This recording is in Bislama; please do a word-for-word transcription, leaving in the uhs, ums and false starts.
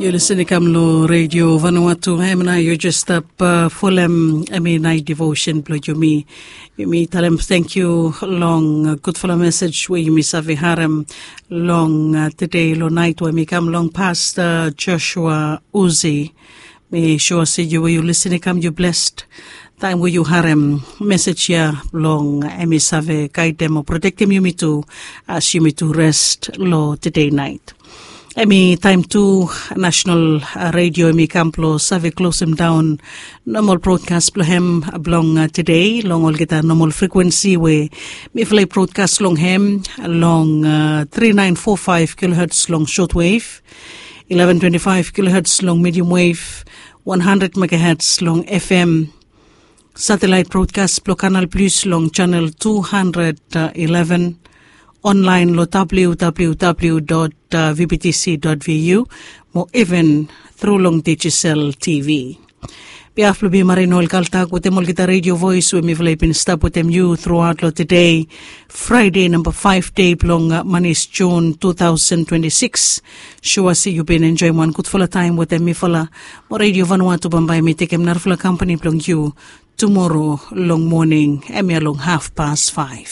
Yu listen i kam long redio Vanuatu, em na yu jes stap folem em i nait devotion bilong yumi. Yumi talem thank you long gudfala message we yumi save harem long today long nait we mi kam long Pastor Joshua Uzi. Mi sure se yu we yu listen i kam yu blessed taim we yu harem message ya long em i save guidem o protektim yumi tu as yumi tu rest long today nait. Em i taim tu national radio em i kam bilong save klosim daun normal broadcast bilong hem bilong today long olgeta normal frequency we mifala i broadcast long hem long uh, three nine four five kilohertz long shortwave, eleven twenty-five kilohertz long medium wave, one hundred megahertz long F M, satellite broadcast bilong Canal Plus long channel two hundred eleven, online long www.vbtc.vu, mo even through long Digicel T V. Behalf bilong mi Marie Noel Kaltak wetem olgeta radio voice we mifala i bin stap wetem yu throughout long today, Friday number five day bilong uh, manis June two thousand twenty-six. Sure se yu bin enjoyim wan gudfala taim wetem mifala. Mo Radio Vanuatu bambae mi tekem narafala company bilong yu tomorrow long morning, em ya long half past five.